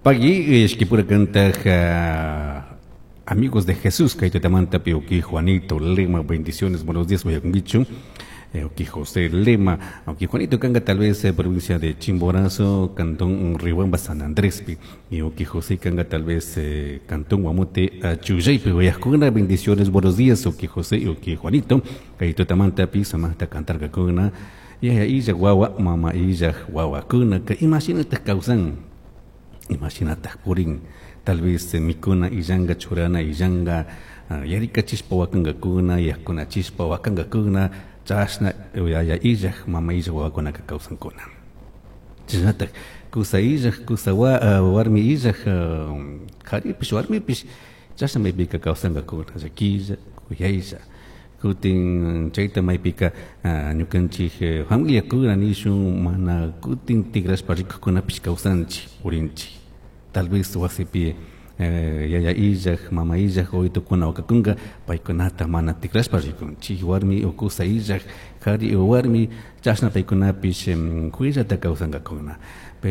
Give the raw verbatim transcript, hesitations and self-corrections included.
Pagui ishkipura kantaj Amigos de Jesús, kaytutamanta uki Juanito Lema, bendiciones, buenos días, uyakunkichu. Uki José Lema, uki Juanito kanga tal vez eh, provincia de Chimborazo, cantón Riobamba, San Andrés, y uki José kanga tal vez eh, cantón Guamute, Chullaypi, uyajkuna, bendiciones, buenos días, uki José, uki Juanito, kaytutamanta pi, samajta cantarkakuna, yaya illaj wawa, mama illaj wawakuna, imashinataj kawsan, imashinataj purin, tal vez mikuna illanga churana illanga yarikachishpa wakankakuna yakunachishpa wakankakuna chashna yaya illaj mama illaj wawakunaka kawsankuna chashnatak kusa illaj kusa wa, warmi illaj karipish warmipish chashna maypika kawsankakuna llakilla kuyaylla kutin chayta maypika ñukanchik familiakuna nishun mana kutin tigrashpa rikukunapish kawsanchik purinchik tal vez wasipi yaya illaj mama illaj wawitokuna wakakunka paykunata mana tikrashpa rikunchik warmi o kusa illaj kari o warmi chashna paykunapish kuyllata kawsankakuna.